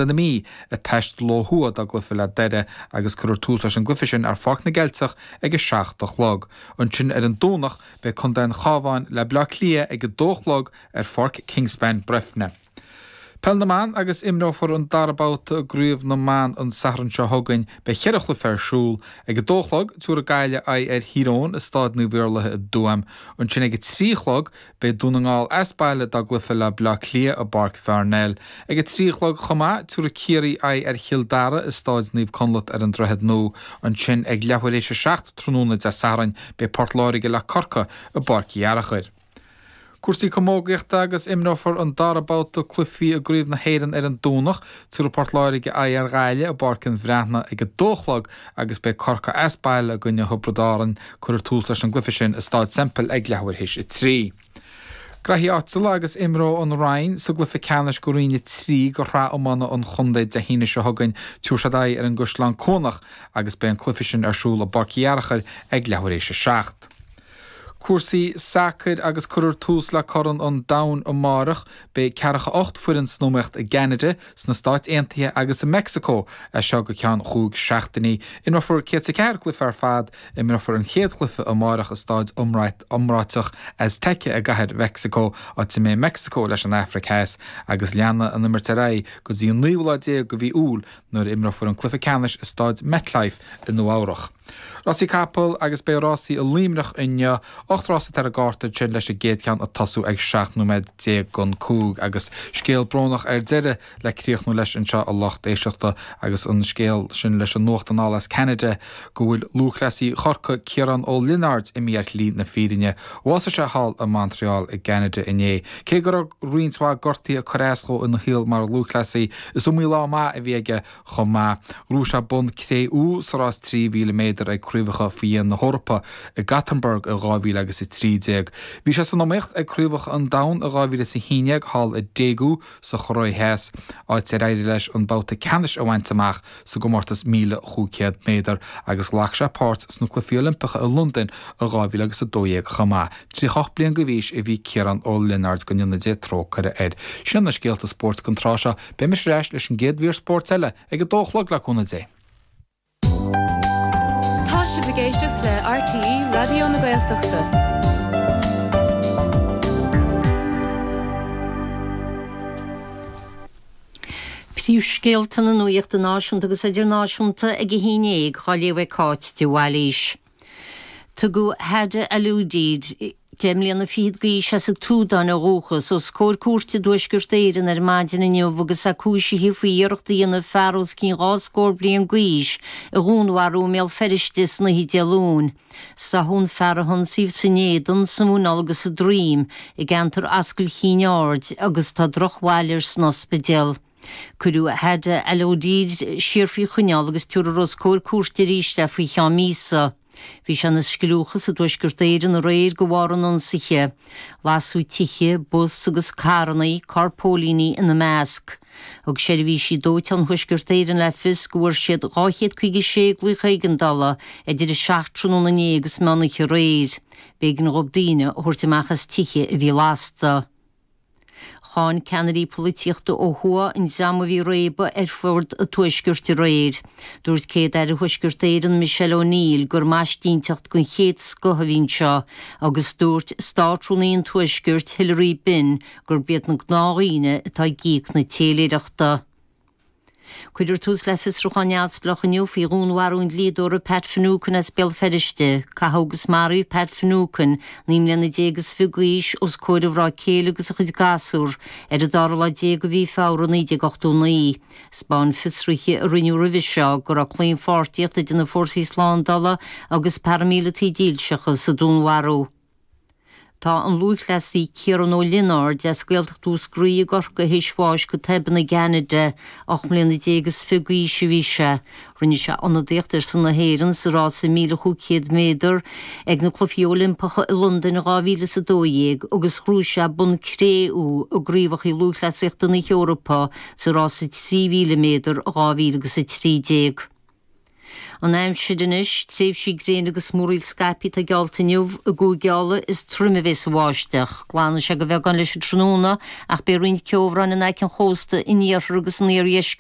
Na Mí ag taisteal ó thuaidh dá gcluiche le Doire agus cuirfear tús leis an gcluiche sin ar Pháirc na gCeilteach ag 7 a chlog. Ansin ar an Domhnach beidh Contae an Chabháin le Baile Átha Cliath ag 2 a chlog ar Pháirc Kingspan, Breffni. Peil na mBan agus imreofar an dara babhta i gCraobh na mBan an Satharn seo chugainn. Beidh cheithre chluiche ar siúl. Ag 2 a chlog, tabharfaidh Gaillimh aghaidh ar Thír Eoghain i Stáid Naomh Iarlaithe i dTuaim. Ansin ag 3 a chlog, Beidh Dún na nGall as baile dá gcluiche le Baile Átha Cliath i bPáirc Pharnell. Ag 3 a chlog chomh maith, tabharfaidh Ciarraí aghaidh ar Chill Dara i Stáid Naomh Conleth ar an Droichead Nua. Ansin ag leathuair théis a 7 tráthnóna Dé Sathairn, beidh Port Láirge le Corcaigh i bPáirc Uí Fhearachair. Cúrsaí camógaíochta agus imreofar an dara babhta cluichí i gCraobh na hÉireann ar an Domhnach. Tabharfaidh Port Láirge aghaidh ar Ghaillimh i bPáirc an Bhreathnaigh ag 2 a chlog agus beidh Corcaigh as baile i gcoinne Thiobraid Árann. Cuirfear tús leis an gcluiche sin i Stáid Semple ag leathuair théis a 3. Graithí áitiúla agus imreoidh an Rinn sa gcluiche ceannais go Roinn 3 go Shraith Iomána an Chontae Dé hAoine seo chugainn. Tabharfaidh siad aghaidh ar an gCaisleán Cuanach agus beidh an cluiche sin ar siúl i bPáirc Uí Fhearachair ag leathuair théis a 7. Cúrsaí sacair agus cuirfear tús le Corn an Domhain amárach. Beidh 48 foireann san iomaíocht i gCeanada, sna Stáit Aontaithe agus i Meicsiceo as seo go ceann chúig seachtainí. Imreofar 104 cluiche ar fad. Imreofar an chéad chluiche amárach i staid iomráiteach Azteca i gCathair Mheicsiceo, áit a mbeidh Meicsiceo leis an Afraic Theas, agus leanfaidh an imirt ar aghaidh go dtí an naoú lá déag de mhí Iúil nuair a imreofar an cluiche ceannais i Staid MetLife i Nua-Eabhrac. Rásaí capall agus beidh rásaí i Luimneach inniu. 8 rás atá ar an gcárta ansin leis an gcéad cheann ag tosú ag 17 nóiméad don 5 agus scéal brónach ar deireadh le críochnú leis anseo a lucht éisteachta agus an scéal sin leis an nuacht anall as Ceanada go bhfuil lúthchleasaí Chorcaí Ciarán Ó Lionáird imithe ar shlí na fírinne. Bhásaigh sé thall i Montreal i gCeanada inné. Cé go raibh roinnt mhaith gortuithe ag cur as dhó ina shaol mar lúthchleasaí is iomaí lá maith a bhí aige Chomh maith, ghnóthaigh sé bonn cré-umha sa rás 3,000 méadar ag Craobhacha Faoi Dhéin na hEorpa i Gothenburg i 2013. Bhí sé san iomaíocht ag Craobhacha an Domhain i 2011 thall i Daegu sa Chóiré Theas, áit ar éirigh leis an babhta ceannais a bhaint amach sa gcomórtas 1,500 méadar agus ghlac sé páirt sna Cluichí Oilimpeacha i Londain i 2012 chomh maith. 38 bliain d'aois a bhí Ciarán Ó Lionáird, go ndéana Dia trócaire air. Sin na scéalta spóirt don tráth seo. Beidh mise ar ais leis an gcéad mhír spóirt eile ag a dó a chlog le cúnamh Dé. Tá sibh ag éisteacht le RTÉ Raidió na Gaeltachta. Príomhscéalta na nuachta náisiúnta agus idirnáisiúnta ag a haon dhéag á léamh ag Cáit de Bhailís. Tugadh Hada Alodid, 10 mbliana fichead d'aois as an tSúdáin ó dhúchas, os comhair cúirte i dTuaisceart Éireann ar maidin inniu agus é cúisithe faoi iarracht a dhéanamh fear os cionn 2 scór bliain d'aois a dhúnmharú i mBéal Feirste san oíche Dé Luain. Sáthadh an fear a hionsaíodh san éadan, sa mhuineál agus sa droim i gceantar Ascaill Chinn Aird agus tá drochbhail air san ospidéal. Cuireadh Hada Alodid siar faoi choinneáil agus tabharfar os comhair cúirte arís é faoi cheann míosa. Bhí sé ina scliúchas i dTuaisceart Éireann aréir de bharr an ionsaithe. Lasadh tithe, bus agus carranna, carr póilíní ina measc. Thug seirbhísí dóiteáin Thuaisceart Éireann le fios go bhfuair siad 256 glaoch éigeandála idir 7 tráthnóna inné agus meán oíche aréir. B'éigean dhóibh daoine a thabhairt amach as tithe a bhí lasta. Cháin ceannairí polaitíochta ó thuaidh an dream a bhí ag réabadh ar fud an tuaiscirt aréir. Dúirt Céad-Aire Thuaisceart Éireann Michelle O'Neill gur maisínteacht den chéad scoth a bhí anseo agus dúirt Státrúnaí an Tuaiscirt Hilary Benn gurb iad na gnáthdhaoine atá ag íoc na téiléireachta. Cuirfear tús le fiosrúchán neamhspleách inniu faoi dhúnmharú an dlíodóra Pat Finucane as Béal Feirste. Caitheadh agus maraíodh Pat Finucane, 19 mbliana is fiche d'aois, os comhair a mhná céile agus a chuid gasúr ar an dara lá déag de mhí Feabhra 1989. 'Spáin fiosruithe a rinneadh roimhe seo go raibh claonpháirtíocht idir na fórsaí slándála agus paraimíleataigh dílseacha sa dúnmharú. Tá an lúthchleasaí Ciarán Ó Lionáird as Gaeltacht Mhúscraí i gCorcaigh théis bháis go tobann i gCeanada. 18 mbliana is fiche d'aois a bhí sé. Rinne sé ionadaíocht ar son na hÉireann sa rása 1,500 méadar ag na Cluichí Oilimpeacha i Londain 2012 agus ghnóthaigh sé bonn cré-umha i gCraobhacha Lúthchleasaíochta na hEorpa sa rása 3,000 méadar 2013. An aimsir anois, tréimhsí gréine agus múraíl scaipthe atá geallta inniu i gCúige Uladh is troime a bheas an bháisteach. Glanfaidh sé de bheagán leis an tráthnóna ach beidh roinnt ceobhráin in aice an chósta in iarthar agus in iardheisceart.